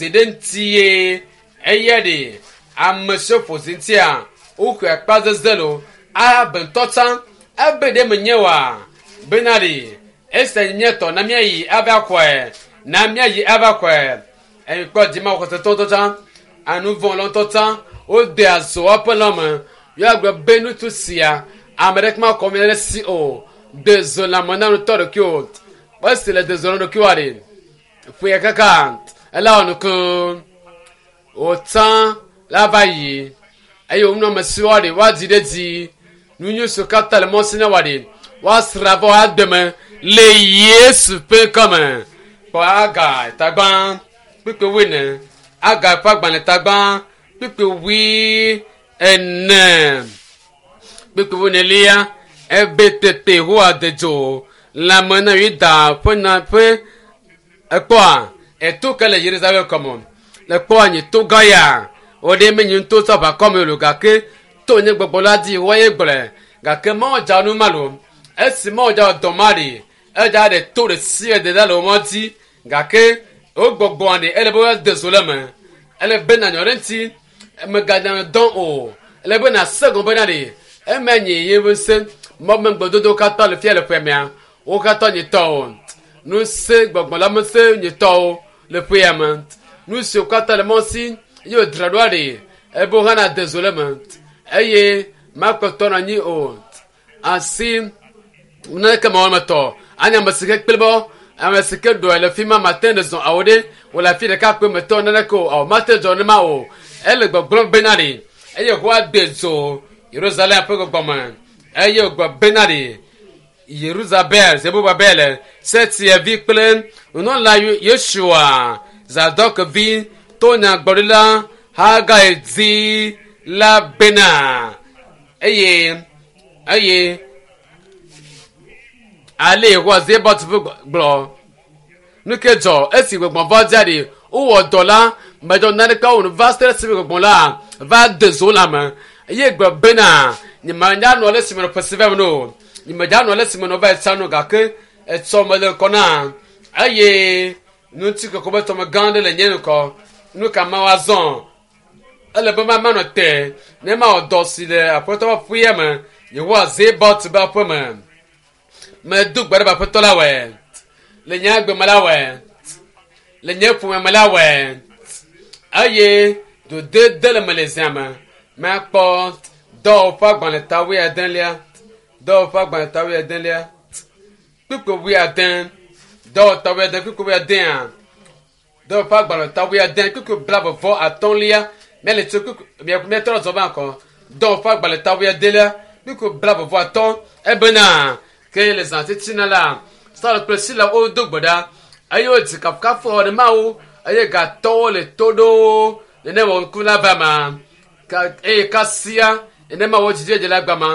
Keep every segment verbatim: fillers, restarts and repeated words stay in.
zi ɖe ŋutie eya ɖe ame siwo ƒo zi ŋutia woxɔe akpa zeze lo abe ŋutɔ tsã ebe ɖe menye wa bena ɖe esia nye miatɔ na miayi ava xɔe na miayi ava xɔe eyi kpɔ dzima xɔsetɔ ŋutɔ tsã anuvɔ ŋutɔ tsã wode azɔ woƒe lɔme yeagblɔ be ŋutsu sia ame ɖeke makɔ mi ɖe si o de zo lãme na ŋutɔ ɖokui o esi le de zo na ɖokuiwoa ɖe ƒoe kaka ela wɔ nuku wòtsã la va yi eye wònɔ ame siwo ɖe woadzi ɖe dzi nu nyui siwo katã le mɔ si na wa ɖe woasra vɔ ademe le Yesu ƒe ŋkɔme kpɔ aga tagbã kpukpui wuiene aga ƒe agbalẽ tagbã kpukpui wui ene kpukpui wuienelia ebe tete Yehowa de dzo lãme na Yuda ƒe na ƒe ekpɔa eto ke le Yerusalem kɔme le kpɔa nye to gã ya wo ɖe menye ŋutɔ tsɔ ʋakɔme lo gake to nye gbɔgbɔ la dzi woaye gblɔe gake mawɔ nu ma lo esi mawɔ dza dɔ ma ɖi edza ɖe to ɖe si ɖe ɖe le wo mɔ dzi gake wo gbɔgbɔa ɖe ele be woade zo le me ele be nanyɔ ɖe ŋuti meganya dɔn o ele be nase gɔme bena ɖe eme nye ye ƒe ŋusẽ mɔmegbedodo katã le fia le ƒe mea wo katã nye tɔwo ŋusẽ gbɔgbɔ la ŋusẽ nye tɔwo le ƒea me nu siwo katã le mɔ si ye wòdzra ɖoa ɖe ebe wo hã nade zo le me eye makpɔtɔ nɔ anyi o asi naneke mewɔ me tɔ anye ame si ke kple bɔ ame si ke ɖɔe le fi ma mate ɖe zɔ awo ɖe wòle afi ɖeka kpe metɔ naneke o awo mate dzɔ nema o ele gbɔgblɔm bena ɖe eye Yehowa de dzo Yerusalem ƒe gbɔgbɔme eye wògblɔ bena ɖe Yeruzabel Zerubabel Sealtiel vi kple nunɔla Yosua Zadok vi to nyagblɔɖila Hagai dzi la bena eye eye ale Yehowa Zebaot ƒe gblɔ nu ke dzɔ esi gbɔgbɔ va dzia ɖi wowɔ dɔ la medzɔ naneke wo nu va se ɖe esime gbɔgbɔ la va de zo la me eye gblɔ bena nyemanya nɔ le si me nɔ ƒe si va me no nyemedza nɔ le si me nɔ va yi tsã no gake etsɔ me le ŋkɔ na eye ŋuti kɔkɔ be tɔme gã ɖe le nye ŋkɔ nu ka ma woazɔ ele be ma manɔ te ne mawɔ dɔ si le aƒetɔ ƒe aƒea me Yehowa Zebaot be aƒe me medo gbe ɖe be aƒetɔ la wɔe le nye agbe me la wɔe le nye ƒome me la wɔe eye dodede le me le zia me makpɔ dɔwɔƒe agbalẽ ta wuiadelia dɔwɔƒe agbalẽ ta wuiadelia kpukpui wuiade dɔwɔta wuiade kpukpui wuiadea dɔwɔƒe agbalẽ ta wuiade kpukpui blaeve vɔ atɔ̃lia míele tso kpukpui míatrɔ zɔ va ŋkɔ dɔwɔƒe agbalẽ ta wuiadelia kpukpui blaeve vɔ atɔ̃ ebena ke le zã titina la Saul kple Sila wodo gbe ɖa eye wodzi kafukafu ɖe Mawu eye gatɔwo le to ɖo nenema ŋku la va ma eye kasia nenema wo dzidzedze la gba ma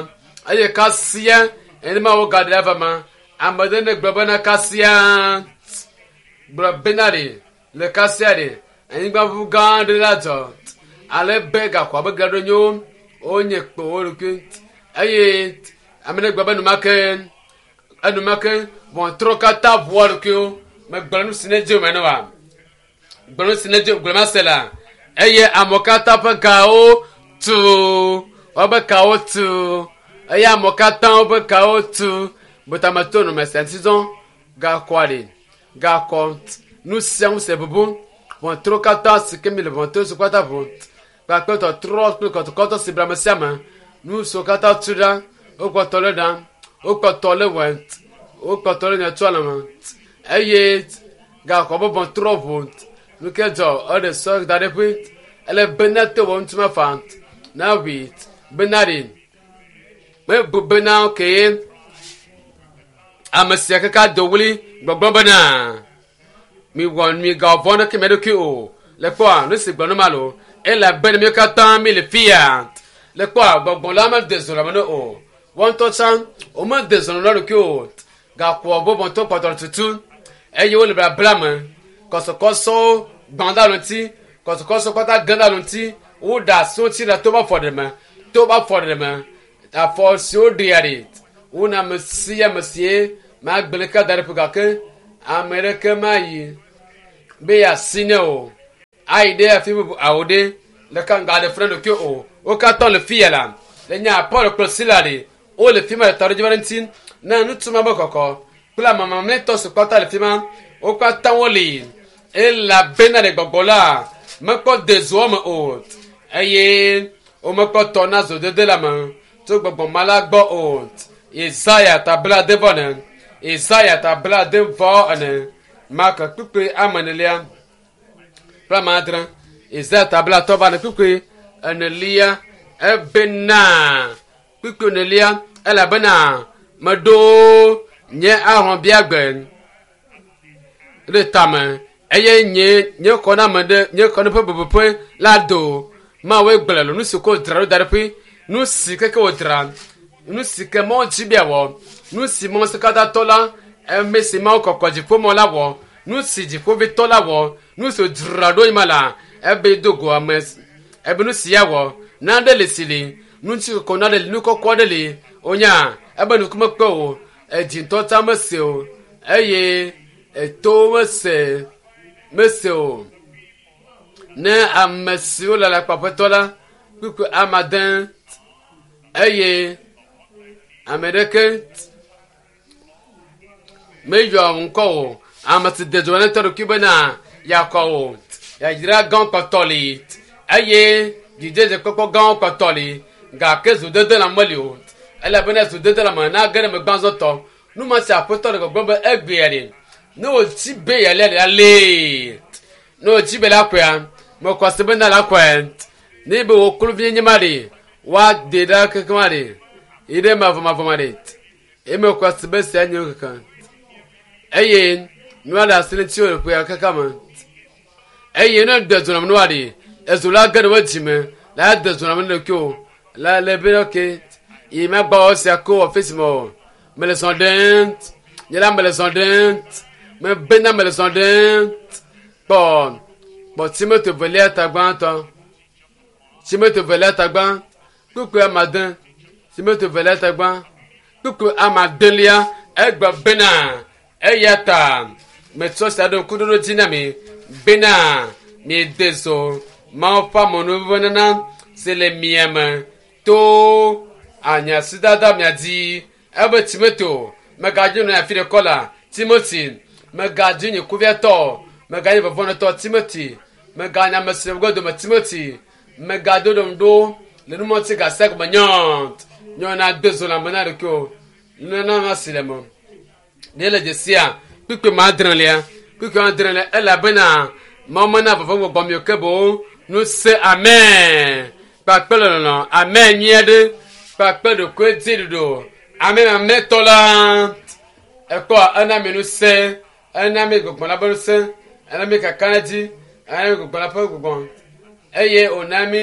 eye kasia nenema wo gaɖe la va ma ame ɖe ne gblɔ bena kasia gblɔ bena ɖe le kasia ɖe anyigba ʋu gã aɖe la dzɔ ale be gaxɔa be gaɖo nyo wonye kpo wo ɖokui eye ame ɖe gblɔ be enumake enumake ʋɔtrɔ katã ʋua ɖokuiwo megblɔ nu si ne dze me ne wa gblɔ nu si ne dze gblɔ ma se la eye amewo katã ƒe gawo tu woƒe kawo tu eye amewo katã woƒe kawo tu butameto nɔme sia ŋuti zɔn gakɔa ɖe gakɔ nu sia nu se bubu ʋɔtrɔ katã si ke mi le ʋɔtrɔ si katã ʋu kpakple tɔtrɔ kple kɔtɔkɔtɔ si ble ame sia ame nu siwo katã tu ɖa wokpɔtɔ le ɖa wokpɔtɔ le wɔ wokpɔtɔ le nyɔtsɔ le me eye gakɔ be ʋɔtrɔ ʋu nu ke dzɔ eɖe sɔ da ɖe ƒe ele bena te wɔ ŋuti mefa na ʋui bena ɖe mebu bena ke ame sia kaka do wli gbɔgblɔ bena miwɔ migawɔ ɖeke mia ɖokui o le kpɔa nu si gblɔ ne ma lo ele bena mi katã mi le fia le kpɔa gbɔgbɔ la mede zɔ le me ne o wɔn ŋutɔ tsã womede zɔ le ɖokui o gaƒoa bɔbɔtɔ kpɔtɔ tutu eye wole blabla me kɔsɔkɔsɔwo gbã ɖe alo ŋuti kɔsɔkɔsɔ kpata ge ɖe alo ŋuti woɖe asi ŋuti le to be afɔ ɖe me to be afɔ ɖe me afɔ siwo ɖea ɖi wona ame sia ame sie magblẽ ka da ɖe ƒe gake ame ɖeke mayi be yeasi ne o. Ayi ɖe afi bubu awo ɖe leke ŋga ɖe funa ɖokui o. Wo katã le fi ya la. Le nya Paul kple Sila ɖe wole fi ma le tɔ ɖe dzi va ɖe ŋuti. Ne ŋutsu ma be kɔkɔ kple ame mamlɛtɔ si kpata le fi ma wo katã woli elabena le gbɔgbɔ la mekpɔ de zoa me o eye womekpɔ tɔ na zodede la me tso gbɔgbɔ ma la gbɔ o. Yesaya ta blaade vɔ ene. Yesaya ta blaade vɔ ene. Marko kpukpui ame enelia kple ame adre. Yesaya ta blatɔ va ene kpukpui enelia ebena kpukpui enelia elabena meɖo nye ahɔ̃biagbe ɖe tame eye nye nye xɔname ɖe nye xɔne ƒe bebeƒe la do. Mawoe gblɔ le nu si ko dzra ɖo da ɖe ƒe nu si keke wòdzra nu si ke mɔ dzi bia wɔ nu si mɔ si katã tɔ la eme si mawo kɔkɔ dziƒomɔ la wɔ nu si dziƒovitɔ la wɔ nu si dzra ɖo yi ma la ebe do go ame ebe nu si ya wɔ nane le si li nu si kɔkɔ nane li nu kɔkɔ ɖe li wonya ebe nukume kpe o edzi ŋutɔ tsa mese o eye eto mese mese o ne ame siwo le alakpaƒetɔ la kpukpu amade eye ame ɖeke meyɔ ŋkɔ o ame si de dzo ne tɔ ɖokui bena yakɔ o yayra gãwo kpɔtɔ li eye dzidzedzekpɔkpɔ gãwo kpɔtɔ li gake zodede la meli o elabena zodede la me na ge ɖe megbe azɔtɔ nu ma si aƒetɔ le gbɔgblɔm be egbea ɖe ne wòtsi be yalia ɖe alee ne wòtsi be la kɔea mekɔ se bena la kɔe ne be wò kluvi nye ma ɖe woade ɖa keke ma ɖe yi ɖe mavɔmavɔ ma ɖe eye mekɔ se be sia nye keke eye nua le asi ŋuti le ƒea keke me eye ne de dzo nam nua ɖe ezo la ge ɖe wo dzime la de dzo nam ne ɖokui o la le be ok yi ma gbɔ sia ko ɔfisi me o mele zɔ ɖem nye la mele zɔ ɖem me bena mele zɔ ɖem kpɔ kpɔ Timote velia ta gbãtɔ Timote velia ta gbã kpukpui amade Timote velia ta gbã kpukpui amadelia egbe bena eya ta metsɔ sia ɖo ŋkuɖoɖo dzi na mi bena miede zo Mawu ƒe amenuvenana si le mia me to anyasidada mia dzi ebe Timote megadzi nɔ afi ɖe kɔ la Timoti megadzi nye kuviatɔ meganye vɔvɔnɔtɔ Timoti meganye ame si le dome Timoti megado ɖom ɖo le numɔti gase gɔme nyɔ nyɔ na de zo le ame na ɖokui o nunana ma si le me ne le dzesia kpukpui ma adrelia kpukpui ma adrelia elabena Mawu mena vɔvɔ gbɔgbɔ mi o ke boŋ nu se amen kpakple lɔlɔ amen nyui aɖe kpakple ɖokui dzi ɖoɖo ame mamlɛtɔ la ekpɔ ena mi nu se ena mi gbɔgbɔ la ƒe ŋusẽ ena mi kakaɖedzi ena mi gbɔgbɔ la ƒe gbɔgbɔ eye wòna mi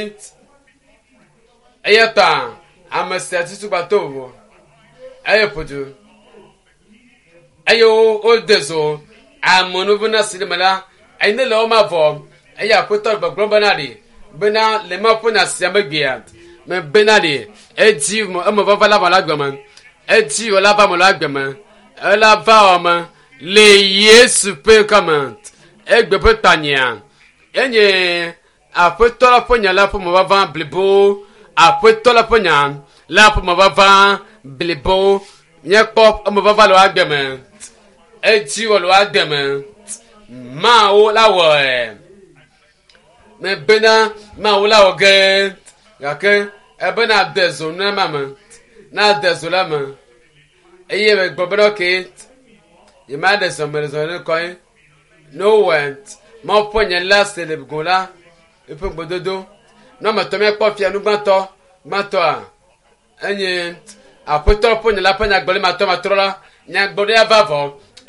eya ta ame sia tutu gba to vovo eye ƒodu eye wo wode zo amenuvena si ɖe me la eye ne le wo ma vɔ eye aƒetɔ gbɔgblɔ bena ɖi bena le ma ƒe nya sia megbea me bena ɖi edzi eme vava la va le agbe me edzi wò la va me le agbe me ela va wɔ me le Yesu ƒe ŋkɔme egbe ƒe tanyia enye aƒetɔ la ƒe nya la ƒe mevava blibo aƒetɔ la ƒe nya la ƒe mevava blibo míekpɔ emevava le agbe me edzi wɔ le agbe me Mawu la wɔe me bena Mawu la wɔ ge gake ebena de zo na ma me na de zo la me eye megblɔ bena ok yi ma ɖe zɔ me le zɔ ne kɔ ye ne wowɔe Mawu ƒe nya la se le go la eƒe gbedodo ne ame etɔ̃ míakpɔ fia nu gbãtɔ gbãtɔa enye aƒetɔ ƒe nya la ƒe nyagblɔɖi matrɔmatrɔ la nyagblɔɖia va vɔ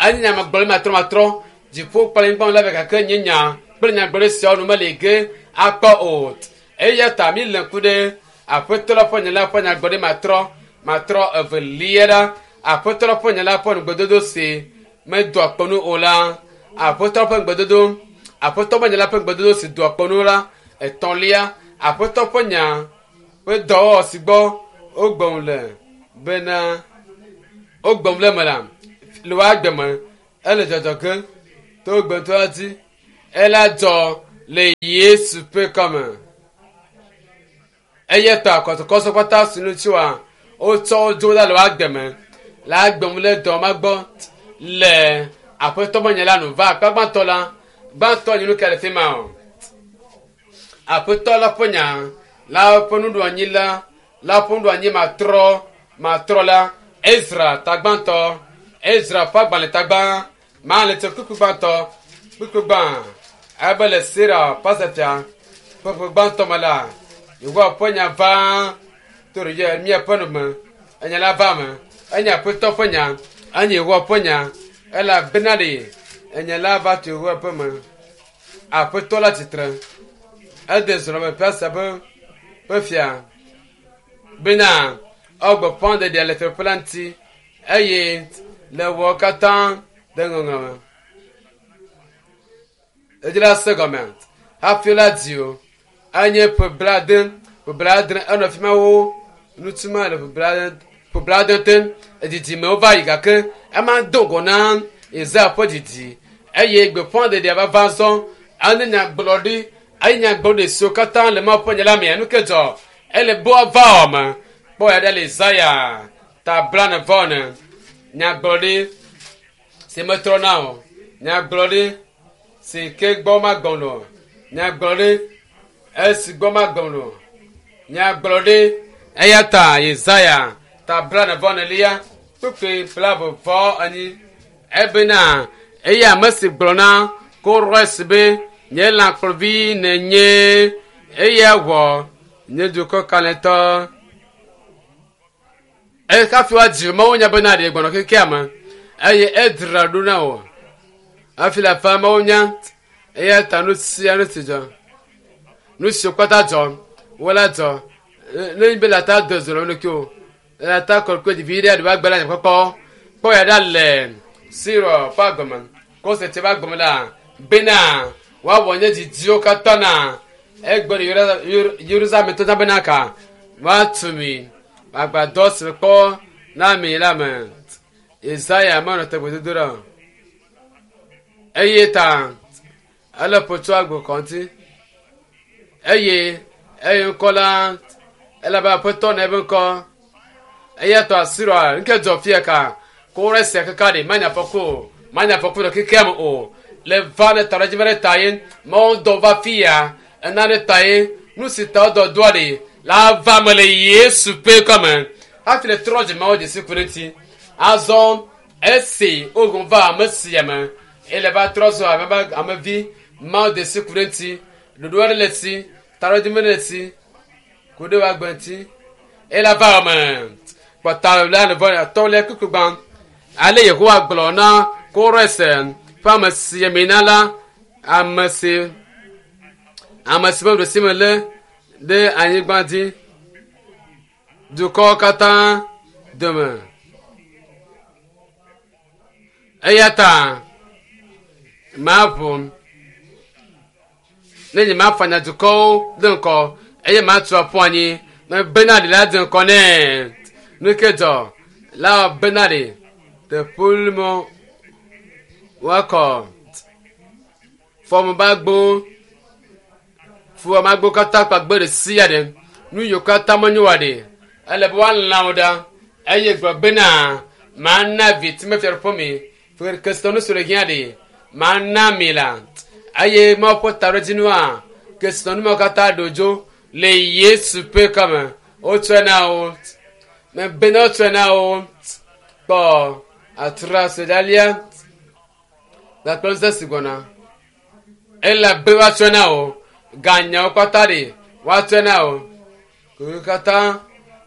enye nyagblɔɖi matrɔmatrɔ dziƒo kple anyigba la be gake nye nya kple nyagblɔɖi siawo nu meli ge akpɔ o eya ta mi le ŋku ɖe aƒetɔ la ƒe nya la ƒe nyagblɔɖi matrɔ matrɔ evelia ɖa aƒetɔ la ƒe nya la ƒe nugbedodo si medoa kpɔnu o la aƒetɔ ƒe ŋugbedodo aƒetɔ ƒe nya la ƒe ŋugbedodo si doa kpɔnu la etɔ̃lia aƒetɔ ƒe nya ƒe dɔwɔwɔ si gbɔ wogbɔm le bena wogbɔm le me la le woa gbe me ele dzɔdzɔ ge to gbetɔ la dzi ela dzɔ Le Yesu ƒe kɔme. Eya ta kɔsɔkɔsɔ kpata si ŋuti wa wotsɔ wo dzo ɖa le woa gbe me le agbem le dɔ ma gbɔ le aƒetɔ me nye la nu va akpa gbãtɔ la gbãtɔ nye nu ka le fi ma o. Aƒetɔ la ƒe nya la ƒe nuɖoanyi la la ƒe nuɖoanyi matrɔ matrɔ la Ezra tagbãtɔ Ezra ƒe agbalẽ tagbã ma le tse kpukpu gbãtɔ kpukpu gbã ebe le Sera pasefia ƒe ƒe gbãtɔ me la Yehowa ƒe nya va to ɖe Yeremia ƒe nu me enya la va me enye aƒetɔ ƒe nya enye Yehowa ƒe nya elabena ɖe enya la va tso Yehowa ƒe me aƒetɔ la tsitre ede zrɔ̃me ƒe ƒe ƒe fia bena ewɔ gbeƒã ɖeɖia le fiaɖuƒe la ŋuti eye le wɔ katã ɖe ŋɔŋlɔ me. Edzi la se gɔme hafi la di o enye ƒe blaade ƒe blaadre enɔ fi ma wo nutuma le ƒe blaade ƒe blaade te edidimewo va yi gake ema do ŋgɔ na Yesaya ƒe didi eye gbeƒã ɖeɖia va va zɔ ene nyagblɔɖi eye nyagblɔɖi siwo katã le Mawu ƒe nya la mea nu ke dzɔ ele be woava wɔ me kpɔ ya ɖe le Yesaya ta blane vɔ ne nyagblɔɖi si metrɔna o nyagblɔɖi si ke gbɔ magbɔn o nyagblɔɖi esi gbɔ magbɔn o nyagblɔɖi eya ta Yesaya ta blane vɔ nelia kpukpui blave vɔ enyi ebena eye ame si gblɔ na Kores be nye lãkplɔvi nenye eya wɔ nye dukɔ kalẽtɔ. Eye hafi woadzi Mawu nya bena ɖe gbɔnɔ kekea me eye edzra ɖo na wò hafi le afa Mawu nya eya ta nu sia nu si dzɔ nu siwo kpata dzɔ wo la dzɔ ne nyi be la ta do zɔ le o la ta kɔkɔe dzivi ɖe aɖe agbe la nye kpɔkpɔ kpɔ ya ɖa le Siro ƒe agbeme kose tse ƒe agbeme la bena woawɔ nye didiwo katã na egbe ɖe Yerusalem tɔ bena ka woatu mi agbadɔ si kpɔ na mi la me Yesaya menɔ te gbedodo ɖa o eye ta ele ƒo tso agbo kɔŋti eye eye ŋkɔ la elabe aƒetɔ na eƒe ŋkɔ eya tɔ Asiria nke dzɔ fia ka kore sia kaka ɖe manya fɔku o manya fɔku le kekea me o le va ne ta ɖe dzi va ɖe ta ye mawo dɔ va fia ena ɖe ta ye nu si ta wodɔ doa ɖe la va me le Yesu ƒe kɔme hafi le trɔ dzi mawo dzesi ku ɖe ŋuti azɔ esi wogun va ame sia me ele va trɔ zɔ ame amevi mawo dzesi ku ɖe ŋuti ɖoɖo aɖe le si taɖodzinu le si ku ɖe woagbe ŋuti ele va me kpɔta la le vɔ atɔ̃lia kpukpu gbã ale Yehowa gblɔ na Kores ƒe ame si amina la ame si ame si ƒe ɖosi me lé ɖe anyigba dzi dukɔwo katã dome eya ta maʋu ne nye mafanya dukɔwo ɖe ŋkɔ eye matu aƒu anyi me bena ɖe la dze ŋkɔ nɛ nu ke dzɔ la bena ɖe teƒe mɔ woakɔ fɔmubagbo fuwɔmagbo katã kpagbe ɖe sia ɖe nu yiwo katã menyo wa ɖe ele be woalã wo ɖa eye gblɔ bena mana vi timefiaɖuƒe mi kesinɔnu si le hiã ɖe mana mi la eye Mawu ƒe taɖodzinua kesinɔnu mawo katã ɖo dzo le Yesu ƒe kɔme wotsɔe na wo me bena wotsɔe na wo kpɔ atra sedalia gakple ŋusẽ si gbɔna elabe woatsɔe na wo ganyawo kpata ɖe woatsɔe na wo kuku katã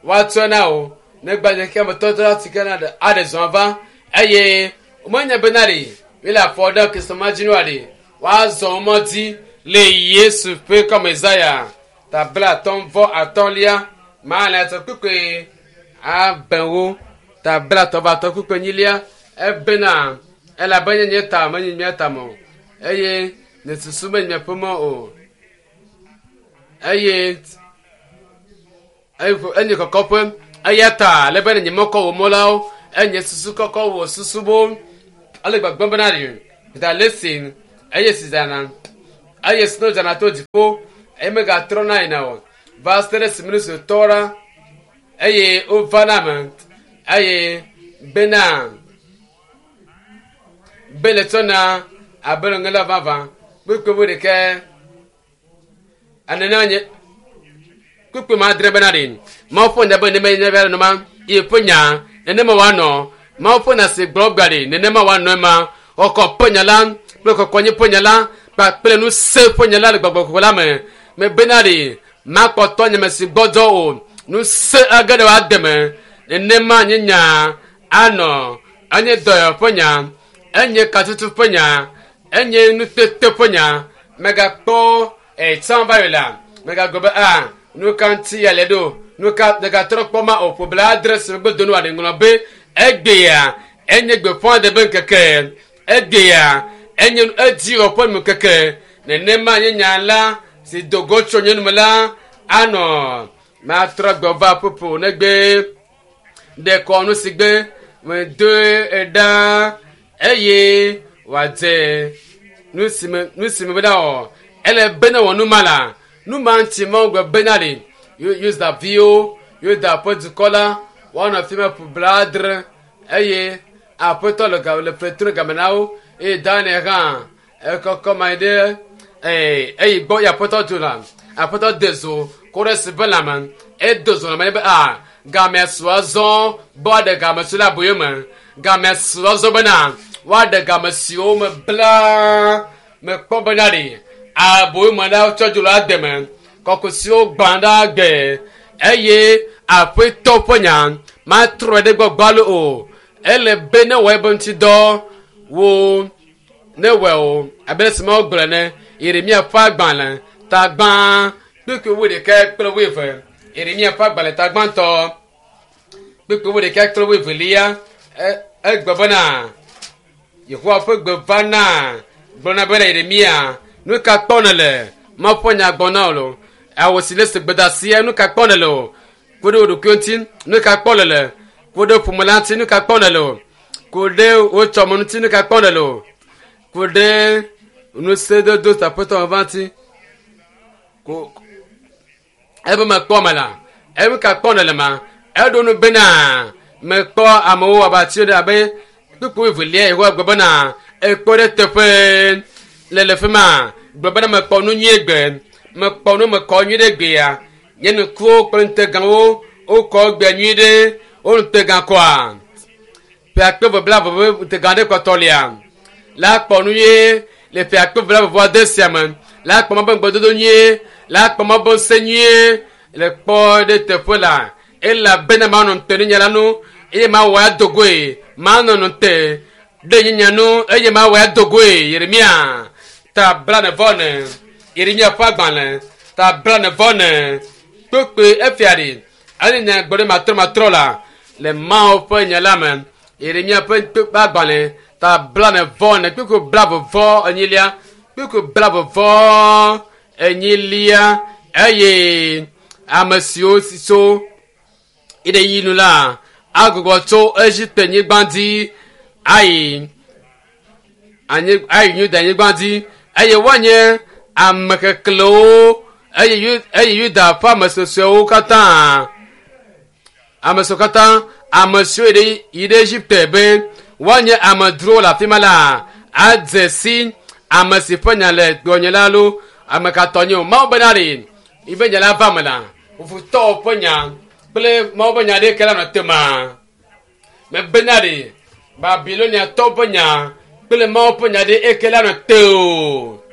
woatsɔe na wo ne gbadze ke ametɔtɔ si ke na ɖe aɖe zɔn va eye womenya bena ɖe wole afɔ ɖe kesinɔmadzinua ɖe woazɔ mɔ dzi le Yesu ƒe kɔme Yesaya ta bla atɔ̃ vɔ atɔ̃lia ma le atɔ kpukpui abewo ta bla atɔ̃ vɔ atɔ̃ kpukpui enyilia ebena elabe nye nye ta menye mía ta me o eye nye susu menye miaƒe mɔ o eye enye kɔkɔƒe eya ta ale be nye mɔkɔ wò mɔ lawo enye susu kɔkɔ wò susu bo ale gbagbe bena ɖe da le si eye si zana Eye sno dzana to dziƒo eye megatrɔna yina o. Va se ɖe esime nu si tɔ ɖa eye wovana me eye bena be le tsɔna abe le ŋe la vavã. Kpukpui bu ɖeke enene nye kpukpui ma adre bena ɖe Mawu ƒe nya be nenema nye be noma ye ƒe nya nenema woanɔ Mawu ƒe nya si gblɔ gba ɖe nenema woanɔ ema xɔxɔ ƒe nya la kple kɔkɔnyi ƒe nya la kpakple ŋusẽ ƒe nya la le gbɔgbɔ kɔkɔe la me mebena ɖe makpɔtɔ nye me si gbɔdzɔ o ŋusẽ age ɖe woade me nenema nye nya anɔ enye dɔyɔ ƒe nya enye katutu ƒe nya enye nutete ƒe nya megakpɔ etsã va yi la megagblɔ be a nu ka ŋuti ya le ɖo nu ka megatrɔ kpɔ ma o ƒo bla adre si megbe do nu aɖe ŋlɔ be egbea enye gbeƒã ɖe be ŋkeke egbea enye edzi wɔ ƒe ŋkeke nenema nye nya la si do go tso nye nume la anɔ matrɔ gbɔ va ƒoƒo negbe ɖe kɔnu si gbe medoe ɖa eye wòadze nu si me nu si me bena wɔ ele be ne wɔ nu ma la nu ma ŋuti Mawu gblɔ bena ɖe Yuda viwo Yuda ƒe dukɔ la woanɔ afi ma ƒo blaadre eye aƒetɔ le ga le fetro game na wo eye Daniel hã ekɔkɔ ma ɖe ee eyi gbɔ ye aƒetɔ dzo la aƒetɔ de zo ko ɖe si be lãme edo zo lãme be a game su azɔ be woaɖe game si le aboyo me game su azɔ bena woaɖe game siwo me bla mekpɔ bena ɖe aboyo me la tsɔ dzo le ade me kɔkɔ siwo gbã ɖe gbe eye aƒetɔ ƒe nya matrɔ ɖe gbɔ gbalo o ele be ne wɔ ebe ŋuti dɔ wo ne wɔ o abe esi Mawu gblɔ ne Yeremia ƒe agbalẽ ta gbã kpukpui wuiɖekɛ kple wuieve Yeremia ƒe agbalẽ ta gbãtɔ kpukpui wuiɖekɛ kple wuievelia egblɔ bena Yehowa ƒe gbe va na gblɔna bena Yeremia nu ka kpɔ nèle Mawu ƒe nya gbɔ na wò lo awu si le se gbedasia nu ka kpɔ nèle o ku ɖe wò ɖokui ŋuti nu ka kpɔ nèle ku ɖe ƒome la ŋuti nu ka kpɔ nèle o ku ɖe wò tsɔme ŋuti nu ka kpɔ nèle o ku ɖe ŋusẽdodo aƒetɔ me va ŋuti ko ebe mekpɔ me la ebe ka kpɔ nèle ma eɖo nu bena mekpɔ amewo abe ati ɖe abe kpukpui evelia Yehowa gblɔ bena ekpɔ ɖe teƒe le le fi ma gblɔ bena mekpɔ nu nyuie gbe mekpɔ nu mekɔ nyui ɖe gbea nye nukuwo kple ŋutegawo wokɔ gbe nyui ɖe wo ŋutega kɔa ƒe akpe ve blaeve ƒe ŋutega ɖe kpɔtɔ lia la kpɔ nu nyuie le ƒe akpe ve blaeve vɔ ade sia me la kpɔ ma be ŋugbedodo nyuie la kpɔ ma be ŋusẽ nyuie le kpɔ ɖe teƒe la elabena manɔ ŋute ɖe nya la nu eye mawɔ ado goe manɔ ŋute ɖe nye nya nu eye mawɔ ado goe Yeremia ta blane vɔ ne Yeremia ƒe agbalẽ ta blane vɔ ne kpekpe efia ɖi eye nya gbɔ ɖe matrɔ matrɔ la le Mawu ƒe nya la me Yeremia ƒe kpekpe agbalẽ ta blane vɔ ne kpekpe blave vɔ enyilia kpekpe blave vɔ enyilia eye ame siwo si tso yi ɖe yi nu la agbugbɔ tso Egipte nyigba dzi ayi anyi ayi Yuda nyigba dzi eye woanye ame keklewo eye Yu eye Yuda ƒe ame susɔewo katã ame siwo katã ame siwo yi ɖe yi ɖe Egipte be woanye amedzrowo le afi ma la adze si ame si ƒe nya le gbɔnye la lo ame ka tɔ nye o Mawu bena ɖe yibe nya la va me la futɔwo ƒe nya kple Mawu ƒe nya ɖeke la nɔ te ma mebena ɖe Babiloniatɔwo ƒe nya kple Mawu ƒe nya ɖe eke la nɔ te o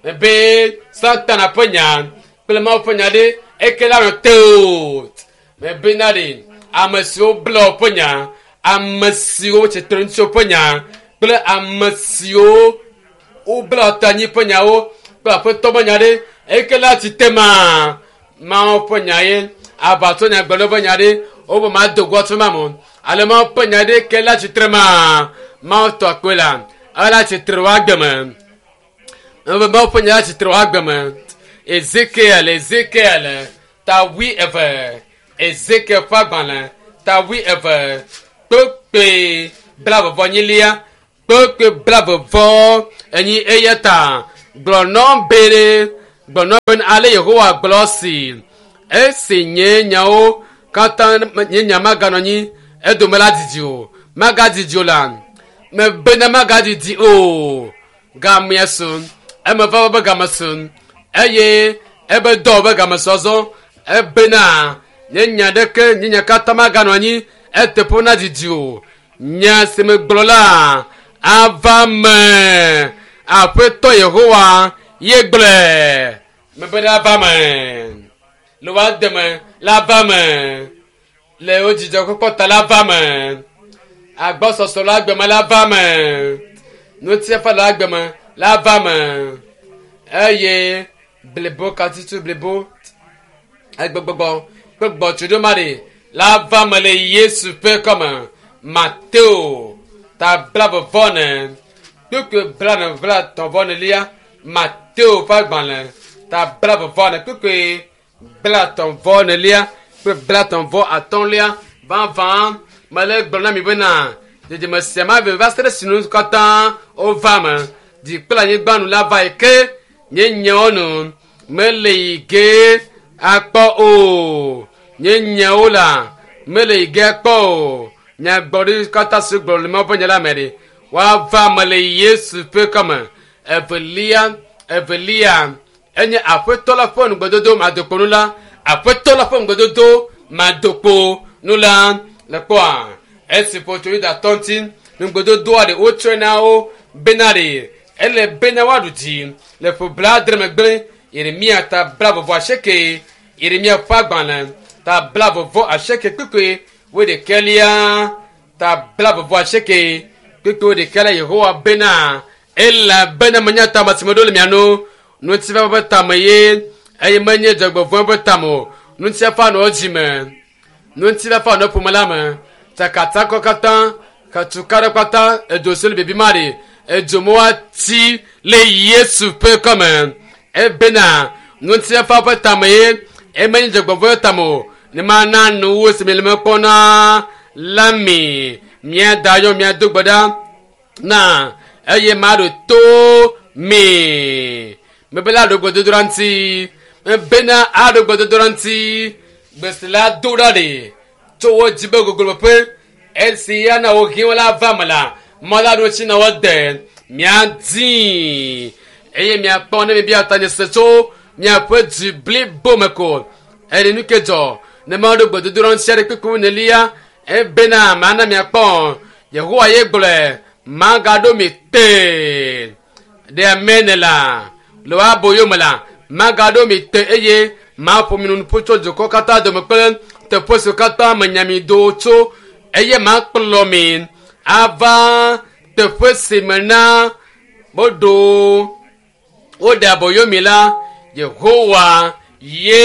mebe Satana ƒe nya kple Mawu ƒe nya ɖe eke la nɔ te o mebena ɖe ame siwo bla ƒe nya ame siwo tsitre ŋuti ƒe nya kple ame siwo wobla ta anyi ƒe nyawo kple aƒetɔ ƒe nya ɖe eke la tsi te ma Mawu ƒe nya ye aʋatso nyagblɔɖi ƒe nya ɖe wobe ma do go tso ma me ale Mawu ƒe nya ɖe ke la tsitre ma Mawu tɔ akpe la ela tsitre wo agbe me ebe Mawu ƒe nya la tsitre wo agbe me Ezekiel Ezekiel ta wui eve Ezekiel ƒe agbalẽ ta wui eve kpekpe blaeve vɔ enyilia kpekpe blaeve vɔ enyi eya ta Gblɔ bene gblɔ bene ale Yehowa gblɔ si esi nye nyawo katã nye nya maganɔ anyi edome la didi o magadidi o la mebena magadidi o gamea su eme va be game su eye ebe dɔ be game su azɔ ebena nye nya ɖeke nye nya katã maganɔ anyi eteƒe na didi o nya si megblɔ la ava me aƒetɔ Yehowa ye gblɔe mebe la va me le woa deme la va me le wo dzidzɔkpɔkpɔ ta la va me agbɔsɔsɔ le agbeme la va me nutiafa le agbeme la va me eye blibo katutu blibo egbegbɔgbɔ kple gbɔtsoɖo ma ɖe la va me le Yesu ƒe kɔme Mateo ta blaeve vɔ ene kpukpui blaene blaetɔ̃ vɔ enelia Mateo ƒe agbalẽ ta blaeve vɔ ene kpukpui blaetɔ̃ vɔ enelia kple blaetɔ̃ vɔ atɔ̃lia vavã mele gblɔ na mi bena dzidzime sia ma ve va se ɖe sinu katã wova me dzi kple anyigba nu la va yi ke nye nyawo nu mele yi ge akpɔ o nye nyawo la mele yi ge akpɔ o nyagbɔɖi katã si gblɔ le Mawu ƒe nya la me ɖe woava me le Yesu ƒe kɔme evelia evelia enye aƒetɔ la ƒe nugbedodo madokpo nu la aƒetɔ la ƒe nugbedodo madokpo nu la le kpɔa esi ƒo tso Yudatɔ ŋuti nugbedodoa ɖe wotsɔe na wo bena ɖe ele bena woaɖu dzi le ƒe blaadre megbe Yeremia ta blaeve vɔ asieke Yeremia ƒe agbalẽ ta blaeve vɔ asieke kpukpui wuiɖekɛlia ta blaeve vɔ asieke kpukpui wuiɖekɛlia Yehowa bena elabena menya tame si meɖo le mia nu ŋutifafa ƒe tame ye eye menye dzɔgbevɔ̃e ƒe tame o ŋutifafa nɔ dzime ŋutifafa nɔ ƒome la me tsakatsakɔ katã katuka ɖe kpata edzo si le bibi ma ɖe edzo me woati le Yesu ƒe kɔme ebena ŋutifafa ƒe tame ye emenye dzɔgbevɔ̃e ƒe tame o ne mana nuwo si mi le me kpɔna la mi miada yɔ miado gbe ɖa na eye maɖo to mi mebe la ɖo gbedodoɖa ŋuti mebena aɖo gbedodoɖa ŋuti gbesi la do ɖa ɖe tso wo dzi be gogloƒe esi ya na wo hĩwo la va me la mɔ la ɖo tsi na wo de miadi eye miakpɔ ne mibia ta nye se tso miaƒe dzi blibo me ko eye nu ke dzɔ ne maɖo gbedodoɖa ŋuti aɖe kpekpe nelia ebena mana miakpɔ Yehowa ye gblɔe magaɖo mi te ɖe amene la le woa aboyo me la magaɖo mi te eye maƒo mi nu ƒu tso dukɔ katã dome kple teƒe siwo katã menya mi do tso eye makplɔ mi ava teƒe si me na woɖo woɖe aboyo mi la Yehowa ye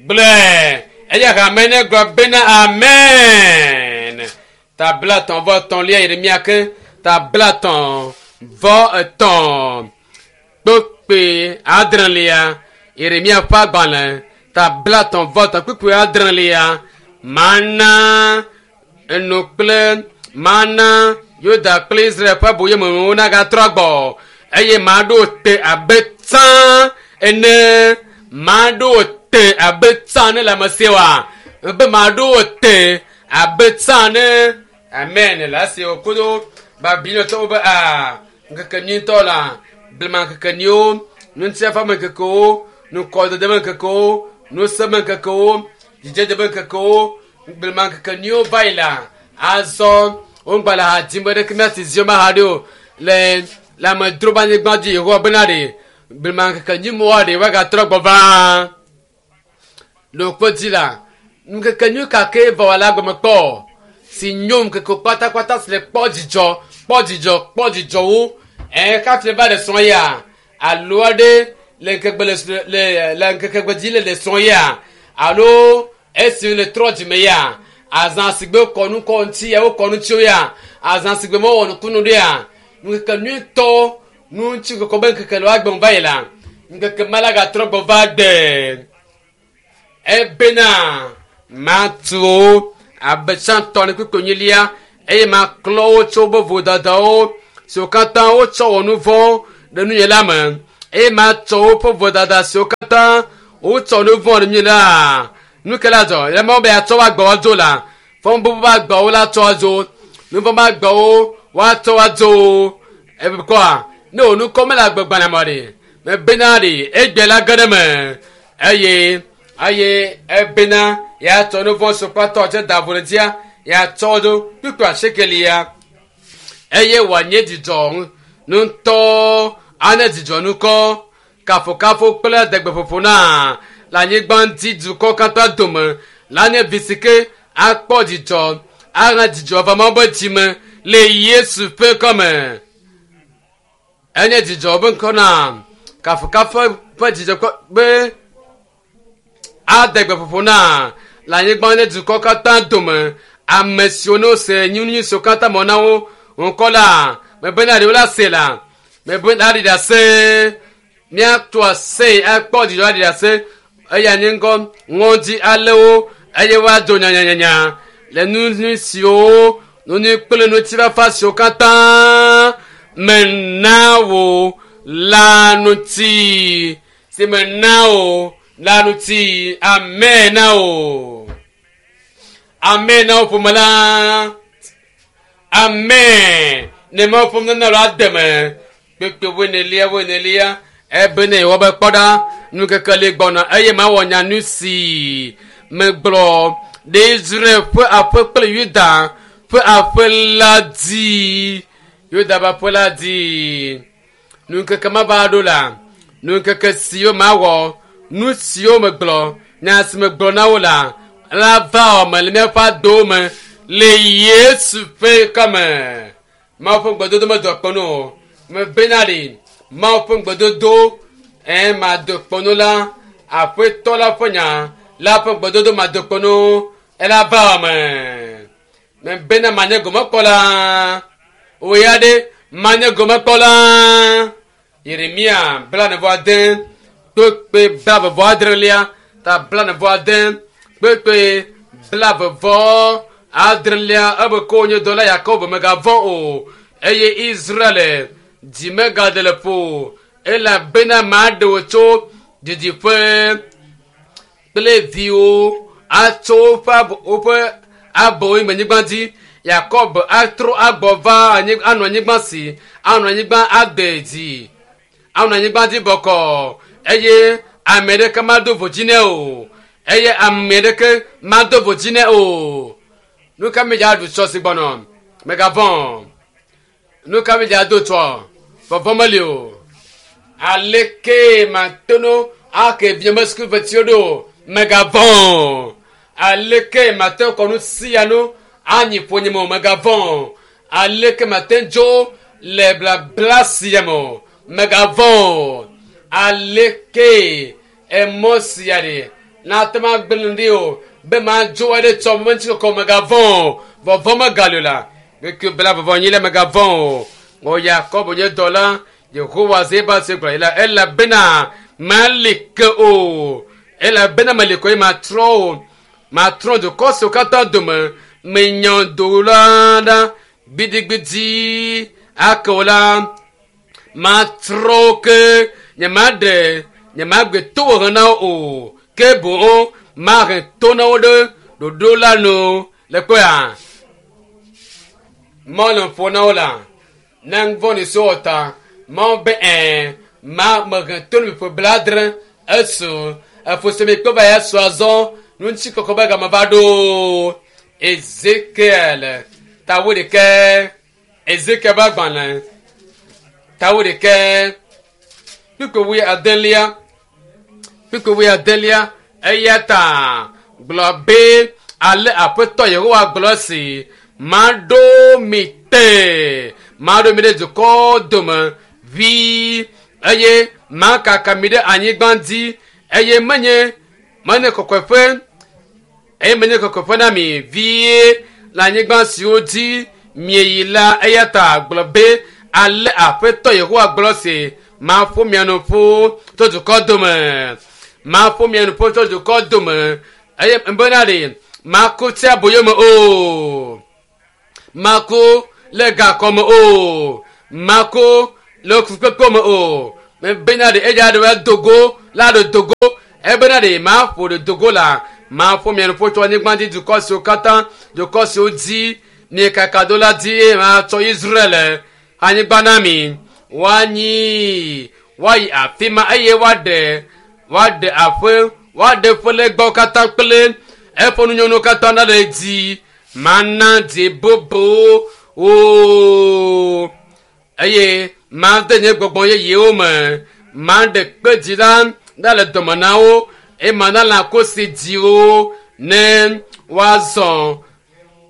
gblɔe eye hame ne gblɔ bena amen ta blaetɔ̃ vɔ etɔ̃lia Yeremia ke ta blaetɔ̃ vɔ etɔ̃ kpukpui adrelia Yeremia ƒe agbalẽ ta blaetɔ̃ vɔ etɔ̃ kpukpui adrelia mana enu kple mana Yuda kple Israel ƒe aboyomewo nagatrɔ agbɔ eye maɖo te abe tsã ene maɖo te abe tsã ene le ame sia wa be maɖo te abe tsã ene amen le esi wòkudo Babilɔtɔwo be a ŋkeke nyuitɔ la blema ŋkeke nyuiwo ŋutifafa me ŋkekewo nukɔdede me ŋkekewo nusẽ me ŋkekewo dzidzedze me ŋkekewo blema ŋkeke nyuiwo va yi la azɔ wogba le ha dzim be ɖeke míasi ziɔ ma ha ɖe o le le amedzro be anyigba dzi Yehowa bena ɖe blema ŋkeke nyui mɔa ɖe woagatrɔ gbɔ va le woƒe dzi la ŋkeke nyui ka ke va wɔ la gɔme kpɔ si nyo ŋkeke kpatakpata si le kpɔ dzidzɔ kpɔ dzidzɔ kpɔ dzidzɔwo ɛ kafi va ɖe srɔ̃ ya alo aɖe le ŋkegbe le le le ŋkeke dzi le le srɔ̃ ya alo esi le trɔ dzime ya azã si gbe kɔnu kɔ ŋuti ya wo kɔnu ŋuti ya azã si gbe mewɔ nukunu ɖe ya ŋkeke nyuitɔ nu ŋuti kɔkɔ be ŋkeke le woagbe va yi la ŋkeke ma la gatrɔ gbɔ va gbe ebena matu abe tsãtɔ ne kpekpe nyilia eye maklɔ wo tso woƒe vodadawo siwo katã wotsɔ wɔ nu vɔ̃ ɖe nunye la me eye matsɔ woƒe vodada siwo katã wotsɔ nu vɔ̃ ɖe mí la nu ke la dzɔ le mawu be yatsɔ woagbɔ adzo la fɔbubu be agbawo la tsɔ adzo nu vɔ̃ be agbawo woatsɔ adzo ebikɔa ne wò nukɔ mele agbegbalẽ me ɖe mebena ɖe egbe la ge ɖe me eye eye ebena yatsɔ nu vɔ̃ si kpatɔ tse da vo ɖe dzia yatsɔ dzo kpikpa sekelia eye wòanye dzidzɔ ŋutɔ ane dzidzɔ nukɔ kafokafo kple degbeƒoƒo na le anyigba ŋuti dukɔ katã dome la nye vi si ke akpɔ dzidzɔ ana dzidzɔ va Mawu be dzime le Yesu ƒe kɔme enye dzidzɔ be ŋkɔ na kafokafo ƒe dzidzɔ be adegbeƒoƒo na le anyigba ŋuti dukɔ katã dome ame siwo ne wose nyunyui siwo katã mɔ na wo ŋkɔ la mebena ɖewo la se la mebena ɖi ɖase míato ase akpɔ dzidzɔ aɖi ɖase eya nye ŋkɔ ŋɔdzi alewo eye woadzo nyanyanyanya le nu siwo nunu kple ŋutifafa siwo katã mena wo la ŋuti si mena wo la ŋuti amen na wo amen na wo ƒome la amen ne mawu ƒome nana lo ademe kpekpe woenelia woenelia ebene wɔ be kpɔ ɖa nukeke li gbɔna eye mawɔ nya nu si megblɔ ɖe Israel ƒe aƒe kple Yuda ƒe aƒe la dzi Yuda ƒe aƒe la dzi nukeke ma va ɖo la nukeke siwo mawɔ nu siwo megblɔ nya si megblɔ na wo la la va wɔme le míaƒe adowo me le Yesu ƒe kɔme Mawu ƒe ŋugbedodo medo kpɔnu o mebena ɖi Mawu ƒe ŋugbedodo ɛ mado kpɔnu la aƒetɔ la ƒe nya la ƒe ŋugbedodo mado kpɔnu ela va wɔme mebena manye gomekpɔla wò ya ɖe manye gomekpɔla Yeremia blanevɔ ade kpekpe blavevɔ adrelia ta blanevɔ ade kpekpe blavevɔ adrelia ebe ko nye dɔla Yakob megavɔ̃ o eye Israel dzi megaɖe le ƒo elabena maɖe wò tso didiƒe kple viwo atso woƒe woƒe abowo me nyigba dzi Yakob atrɔ agbɔ va anɔ anyigba si anɔ anyigba ade dzi anɔ anyigba dzi bɔkɔ eye ame ɖeke mado vodzi nɛ o eye ame ɖeke mado vodzi nɛ o nu ka mi dza ɖu tsɔ si gbɔnɔ megavɔ̃ nu ka mi dza do tsɔ vɔvɔ meli o aleke matono ake vieme sukuviwo ɖo megavɔ̃ aleke mate kɔ nu sia nu anyi ƒonyeme o megavɔ̃ aleke mate dzo le blabla sia me o megavɔ̃ aleke emɔ sia ɖe nate ma gblẽ ɖi o be madzo aɖe tsɔ me ŋuti kɔkɔ megavɔ̃ vɔvɔ megali o la keke bla vɔvɔ nyi le megavɔ̃ o o Yakob nye dɔla Yehowa Zebaot gblɔ yi la elabena mali ke o elabena meli ko ye matrɔ o matrɔ dukɔ siwo katã dome menya do la ɖa gbidigbidi ake o la matrɔ ke nyemaɖe nyemagbe to wò na wo o ke boŋ mahe to na wo ɖe ɖoɖo la nu le kpɔa mɔ le ƒo na wo la ne ŋvɔ ni so wɔ ta mawo be ɛɛ ma mehe to ne mi ƒe bladre esu efo mi kpe va ya su azɔ ŋuti kɔkɔ be game va ɖo Ezekiel tawo ɖekɛ Ezekiel ƒe agbalẽ tawo ɖekɛ kpukpui wui adelia kpukpui wui adelia eya ta gblɔ be ale aƒetɔ Yehowa gblɔ si maɖo mi te maɖo mi ɖe dukɔ dome vi eye makaka mi ɖe anyigba dzi eye menye menye kɔkɔeƒe eye menye kɔkɔeƒe na mi vie le anyigba siwo dzi mieyi la eya ta gblɔ be ale aƒetɔ Yehowa gblɔ si maƒo mia nu ƒu tso dukɔ dome maƒo mia nu ƒu tso dukɔ dome eye bena ɖe maku tsi aboyo me o maku le gakɔ me o maku Le fukpekpe me o. Mebena ɖe eya ɖe va dogo la ɖe dogo. Ebena ɖe ma ƒo ɖe dogo la. Ma ƒo mia nuƒo tso anyigba dzi dukɔ siwo katã dukɔ siwo dzi miekaka do la dzi eye ma tsɔ Israel anyigba na mi. Woanyi woayi afi ma eye woaɖe woaɖe aƒe woaɖe ƒe legbawo katã kple eƒe nunyɔnuwo katã ɖa ɖe dzi. Mana dzi bubu wo eye made nye gbɔgbɔ yeyewo me. Maɖe kpe dzi la ɖa le dɔme na wo eye mana lãkosi dzi wo ne woazɔ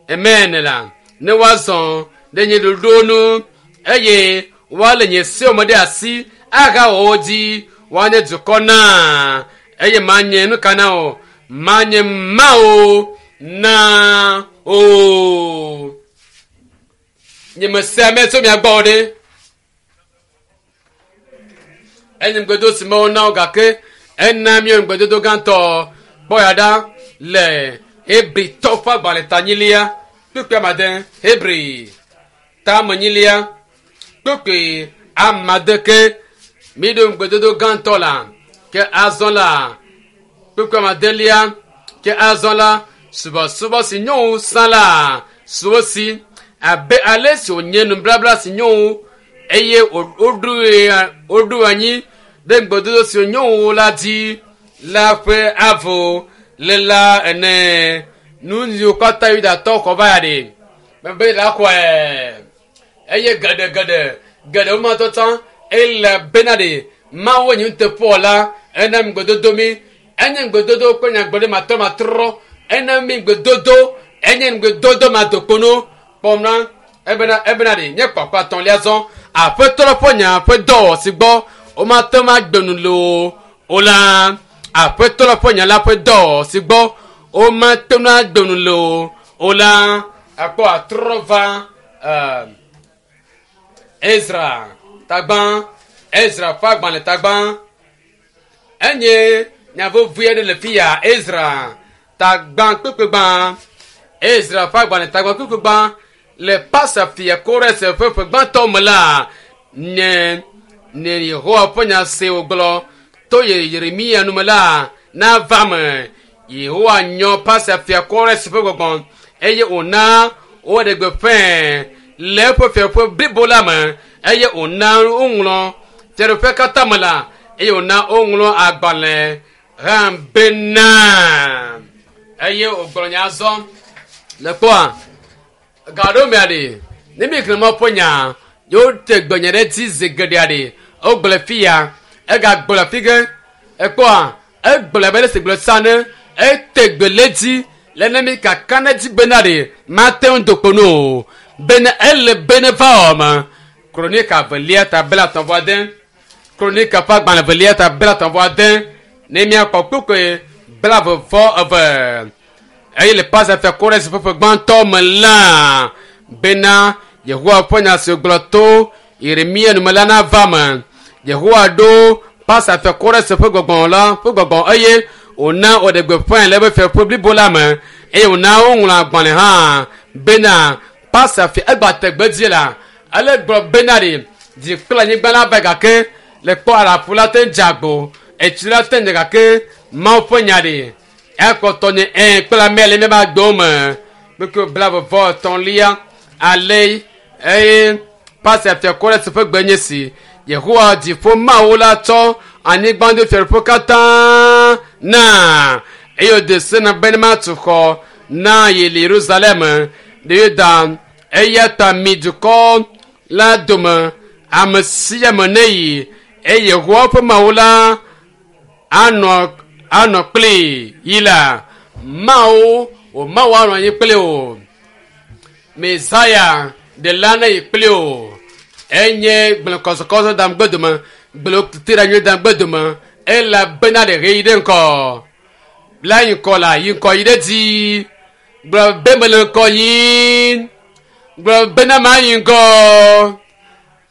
amen la ne woazɔ ɖe nye ɖoɖowo nu eye woalé nye sewo me ɖe asi ahawɔ wo dzi woanye dukɔ na eye manye nu ka na wo manye Mawu na o. Nye mese ame tso mia gbɔ o ɖe. Enye ŋugbedodo si Mawu na wo gake ena míawo ŋugbedodo gãtɔ kpɔ ya ɖa le Hebritɔ ƒe agbalẽ tanyilia kpukpui amade Hebri tamenyilia kpukpui amade ke míɖo ŋugbedodo gãtɔ la ke azɔ la kpukpui amadelia ke azɔ la subɔsubɔ si nyo wu sã la su si abe ale si wònye nublabla si nyo wu eye woɖoe woɖo anyi ɖe ŋugbedodo si nyo wu la dzi la ƒe avo le la ene. Nu siwo katã Yudatɔ xɔ va ya ɖe mebe la xɔe eye geɖe geɖe geɖe wo matɔ tsã ele bena ɖe Mawu nye nuteƒewɔla ena ŋugbedodo mi enye ŋugbedodo kple nyagblɔɖi matrɔmatrɔ ena mi ŋugbedodo enye ŋugbedodo madokpono kpɔm na ebena ebena ɖe nye kpakpa atɔ̃lia zɔ aƒetɔ la ƒe nya ƒe dɔwɔ si gbɔ womate ŋu agbe nu le o o la aƒetɔ la ƒe nya la ƒe dɔwɔ si gbɔ womate ŋu agbe nu le o o la akpɔ atrɔ va ɛɛ Ezra tagbã Ezra ƒe agbalẽ tagbã enye nya vevi aɖe le fi ya Ezra tagbã kpekpegbã Ezra ƒe agbalẽ tagbã kpekpegbã le Pasa fia Kores ƒe ƒe gbãtɔ me la nye ne Yehowa ƒe nya se wògblɔ to Yeremia nu me la nava me. Yehowa nyɔ Pasa fia Kores ƒe gbɔgbɔ eye wòna woɖe gbeƒãe le eƒe fiaƒe blibo la me eye wòna woŋlɔ fiaɖuƒe katã me la eye wòna woŋlɔ agbalẽ hã bena eye wògblɔ nya zɔ le kpɔa gaɖo mea ɖe ne mi xlẽ Mawu ƒe nya yewo te gbe nya ɖe dzi zi geɖea ɖe wogblɔ fi ya egagblɔ fi ge ekpɔa egblɔ abe ale si gblɔ sa ne ete gbe le dzi le ne mi kaka ne dzi bena ɖe mate ŋu do kpo nu o bena ele bene va wɔ me. Kronika velia ta bla etɔ̃ vɔ ade Kronika ƒe agbalẽ velia ta bla etɔ̃ vɔ ade ne miakpɔ kpukpui blaeve vɔ eve eye le Pasa fia Kores ƒe ƒe gbãtɔ me la bena Yehowa ƒe nya si wògblɔ to Yeremia nu me la nava me. Yehowa ɖo Pasa fia Kores ƒe gbɔgbɔ la ƒe gbɔgbɔ eye wòna wòɖe gbeƒãe le eƒe fiaƒe blibo la me eye wòna woŋlɔ agbalẽ hã bena Pasa fia egba te gbe dzi la ele gblɔ bena ɖe dzi kple anyigba la va gake le kpɔ aɖaƒu la te dze agbo etsi la te dze gake Mawu ƒe nya ɖe ekpɔtɔ nye ɛ kple ame le míaƒe agbewo me kpekpe blaeve vɔ etɔ̃lia ale eye Pasa fia Kores ƒe gbe nye si Yehowa dziƒo Mawu la tsɔ anyigba do fiaɖuƒe katã na eye wòde se na be ne matu xɔ na ye le Yerusalem ɖe Yuda eya ta mi dukɔ la dome ame sia ame ne yi eye Yehowa ƒe Mawu la anɔ anɔ kpli yi la Mawu o Mawu anɔ anyi kpli o Mesaya ɖela ne yi kpli o enye gblẽ kɔsɔkɔsɔ dam gbedome gblẽ tete dam gbedome elabena ɖe ɣeyiɣi ɖe ŋkɔ la yi ŋkɔ la yi ŋkɔ yi ɖe dzi gblɔ be mele ŋkɔ yim gblɔ bena ma yi ŋgɔ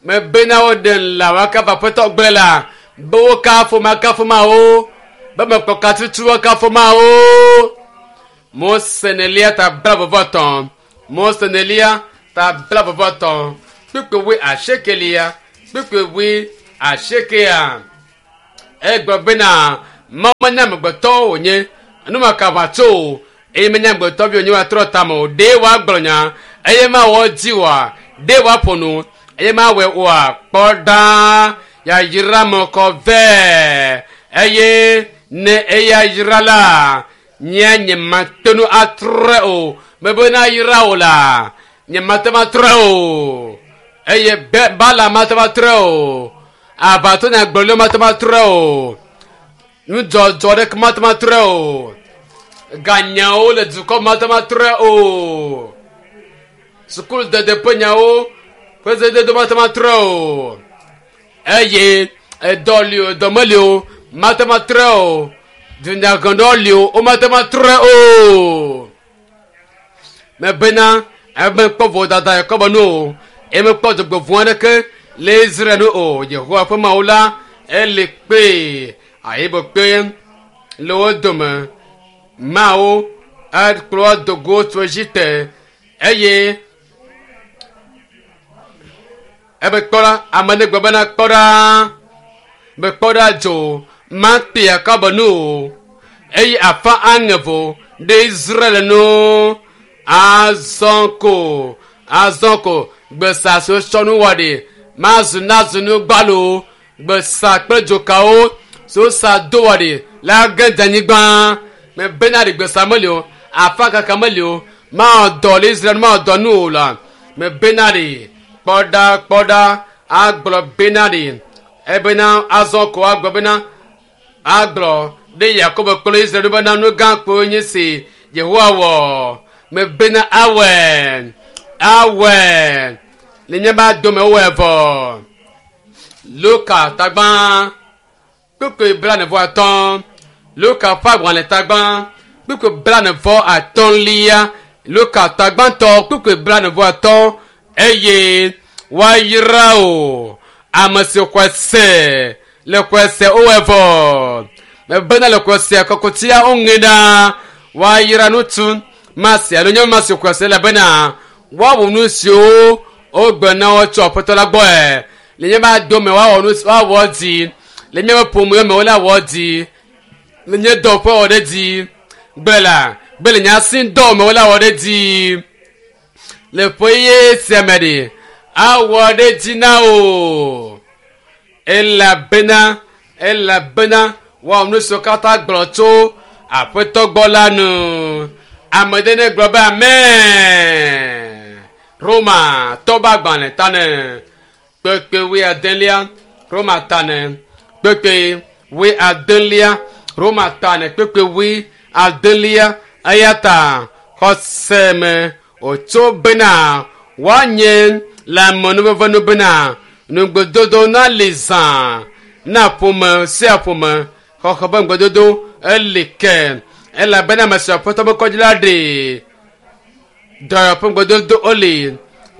mebena woɖe la woakafu aƒetɔ gblẽ la be wokafu makafu mawo be mekpɔ katutu woakafu mawo Mose nelia ta blaeve vɔ etɔ̃ Mose nelia ta blaeve vɔ etɔ̃ kpukpui wuiasiekelia Kpukpui wui asiekea egblɔ bena Mawu menye amegbetɔ wònye numaka ʋã tso o eye menye amegbetɔ vi wònye wòatrɔ tame o. Ɖe wòagblɔ nya eye mawɔ dzi oa? Ɖe wòaƒo nu eye mawɔe oa? Kpɔ ɖa, yayra me kɔ vɛ eye ne eya yra la, nye nyemate ŋu atrɔe o. Mebe na yra o la, nyemate ŋu atrɔe o. Eye be Balaam mate ŋu atrɔe o. Aʋatso nyagblɔɖilawo mate ŋu atrɔe o. Nudzɔdzɔ ɖeke mate ŋu atrɔe o. Ganyawo le dukɔ mate ŋu atrɔe o. Sukuludede ƒe nyawo ƒe zededo mate ŋu atrɔe o. Eye edɔ li o, edɔ meli o, mate ŋu atrɔe o. Dunyaheɖɔ li o, womate ŋu atrɔe o. Mebena ebe mekpɔ vodada Yakobo nu o, eye mekpɔ dzɔgbevɔ̃ aɖeke le Israel nu o. Yehowa ƒe Mawu la ele kpee ayibe kpe le wo dome. Mawu ekplɔ do go tso Egipte eye ebe kpɔ ɖa, ame ne gblɔ bena kpɔ ɖa, be kpɔ ɖa dzo makpe Yakobo nu o eye afa aŋe vo ɖe Israel nu. Azɔ ko, azɔ ko gbesa si wotsɔ nu wɔ ɖi mazu nazu nu gbalo. Gbesa kple dzokawo si wosa do wɔ ɖi la ge dze anyigba. Mebena ɖi gbesa meli o, afa kaka meli o, mawɔ dɔ le Israel mawɔ dɔ nu o la. Mebena ɖi kpɔ ɖa, kpɔ ɖa agblɔ bena ɖi ebena azɔ ko agblɔ bena agblɔ ɖe Yakobo kple Israel bena nu gã kpoe nye si Yehowa wɔ. Mebena awɔe, awɔe le nye ba dome wowɔe vɔ. Luka tagbã kpukpui blaene vɔ atɔ̃. Luka ƒe agbalẽ tagbã kpukpui blaene vɔ atɔ̃lia. Luka tagbãtɔ kpukpui blaene vɔ atɔ̃. Eye woayra o ame si xɔe se le xɔe se wowɔe vɔ. Mebena le xɔe se kɔkutia woŋe ɖa. Woayra ŋutsu masi alo nyɔnu masi xɔe se elabena woawɔ nu siwo wogbe na wo tso Aƒetɔ la gbɔe. Le nye ba dome woawɔ nu woawɔ dzi. Le nye ƒome me wole awɔ dzi. Le nye dɔƒe wɔ ɖe dzi. Gbe la, gbe le nye asi dɔ me wole awɔ ɖe dzi. Le ƒe ye sia me ɖi, awɔ ɖe dzi na o. Elabena, elabena woawɔ nu siwo katã gblɔ tso Aƒetɔ gbɔ la nu. Ame ɖe ne gblɔ be amen. Roma tɔba agbalẽ tane kpekpe wui adelia. Roma tane kpekpe wui adelia. Roma tane kpekpe wui adelia. Eya ta xɔse me wòtso bena woanye le amenuveve nu bena nugbedodo nali zã na ƒome sia ƒome xɔxɔ be ŋugbedodo eli ke elabena ame si Aƒetɔ be kɔdzi la ɖe dɔyɔƒe ŋugbedodo woli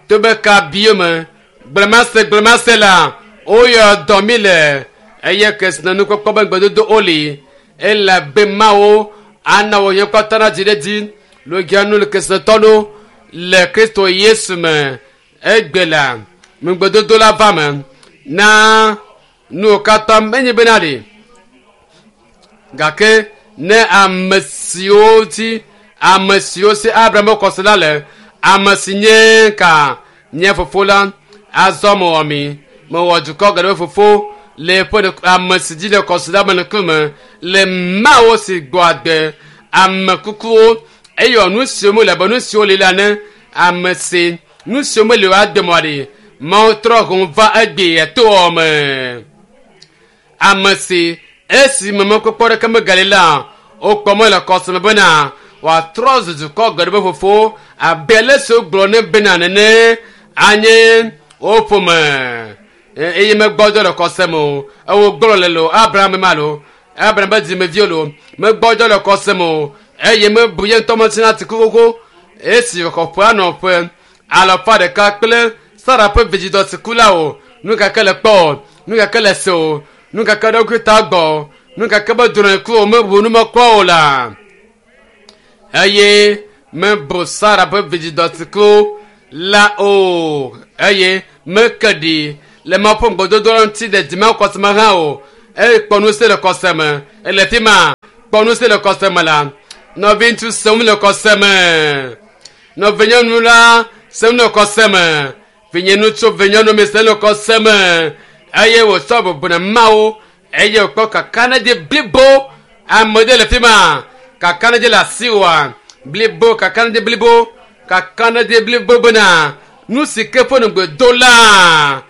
to be ka bio me gblemase gblemase la woyɔ dɔ mi le eye kesinɔnukpɔkpɔ be ŋugbedodo woli elabe Mawu ana wò nye kpata na dzi ɖe dzi logianu le kesinɔtɔ ɖo le Kristo Yesu me. Egbe la ŋugbedodo la va me na nuwo katã menye bena ɖe gake ne ame siwo dzi ame siwo si Abraham ƒe xɔse la le ame si nye ka nye fofo la azɔ mewɔ mi mewɔ dukɔ geɖe ƒe fofo le eƒe ame si dzi le xɔse la me ŋkume le Mawu si gbɔ agbe ame kukuwo eye wɔ nu siwo mele abe nu siwo li la ne ame si nu siwo meli o ade mɔ ɖi Mawu trɔ hũ va egbe toɔ me. Ame si esi me mɔkpɔkpɔ ɖeke megali la wokpɔ mɔ le xɔse me bena wòatrɔ zu dukɔ geɖe ƒe fofo abe ale si wogblɔ ne bena nene anye wo ƒome eye megbɔdzɔ le xɔse me o. Ewo gblɔ le lo Abraham ma lo Abraham be dzimeviwo lo megbɔdzɔ le xɔse me o eye mebu ye ŋutɔ metsina ati xoxo esi wòxɔ ƒe anɔ ƒe alafa ɖeka kple Sara ƒe vidzidɔ si ku la o. Nu gake le kpɔ o, nu gake le se o, nu gake ɖokui ta gbɔ o, nu gake be drɔ̃e ku o, mebu nu mekpɔ o la. Eye mebu Sara ƒe vidzidɔ si ku la o eye meke ɖi Le Mawu ƒe ŋugbedodo la ŋuti le dzime xɔse me hã o. Eye kpɔ nu si le xɔse me. Ele fi ma. Kpɔ nu si le xɔse me la. Nɔviŋutsu sem le xɔse me. Nɔvinyɔnu la sem le xɔse me. Vinyeŋutsu vinyɔnu mi sem le xɔse me. Eye wòtsɔ bubu na Mawu. Eye wòkpɔ kakaɖedzi blibo. Ame ɖe le fi ma. Kakaɖedzi le asiwòa. Blibo kakaɖedzi blibo. Kakaɖedzi blibo bena nu si ke ƒe ŋugbe la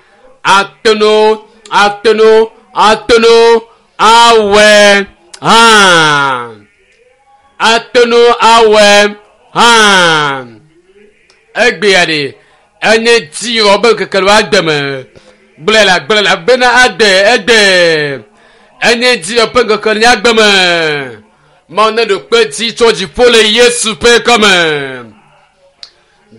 ateno ateno ateno awɔe hã. Ateno awɔe hã. Egbea ɖe enye dziwɔ be ŋkeke le agbe me. Gblɔe la gblɔe la bena agbe egbe. Enye dziwɔ ƒe ŋkeke le nye agbe me. Mawu ne ɖo kpe dzi tso dziƒo le Yesu ƒe ŋkɔme.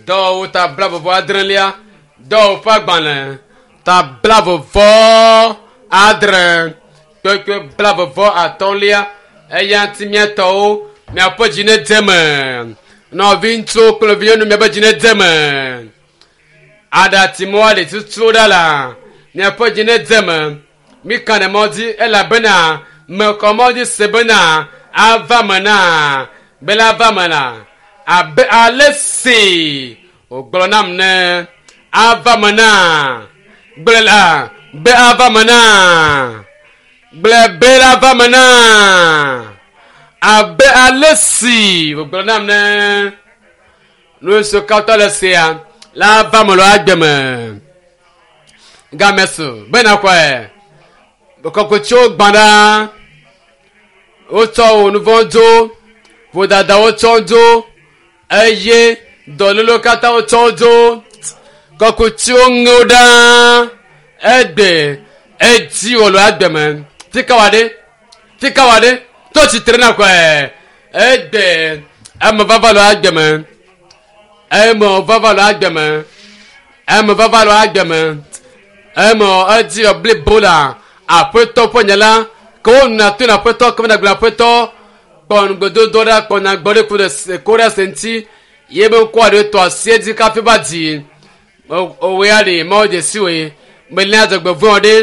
Dɔwɔwɔ ta blavɔvɔ adrelia. Dɔwɔwɔ ƒe agbalẽ ta blavɔvɔ adre kpekpe blavɔvɔ atɔ̃lia. Eya ŋuti miatɔwo miaƒe dzi ne dze me. Nɔviŋutsuwo kple nɔvinyɔnu miaƒe dzi ne dze me. Aɖatsimɔa le tutu ɖa la miaƒe dzi ne dze me. Mika ɖe mɔ dzi elabena mekɔ mɔ dzi se bena ava me na bena ava me la abe ale si wògblɔ nam ne ava me na gblẽ la be ava me na gblẽ be la ava me na abe ale si wògblɔ nam ne nu siwo katã le sia la ava me le agbe me game su bena kɔe kɔkɔtsiwo gbã ɖa wotsɔ wò nu vɔ̃ dzo vodadawo tsɔ dzo eye dɔlélewo katã wotsɔ dzo kɔkutsiwo ŋewo ɖa egbe edzi wò le agbe me fika wa ɖe fika wa ɖe to tsitre na kɔe egbe eme vava le agbe me eme vava le agbe me eme vava le agbe me eme edzi wɔ blibo la aƒetɔ ƒe nye la ke wonɔ to na aƒetɔ ke wona gblɔ aƒetɔ kpɔ ŋugbedodo ɖe kpɔ nyagbɔ ɖe ku ɖe se ko ɖe se ŋuti ye be ŋkɔ aɖe tɔ asi edzi kafi va dzi owoe aɖe mawo dze si woe melia dzɔgbevɔ̃ ɖe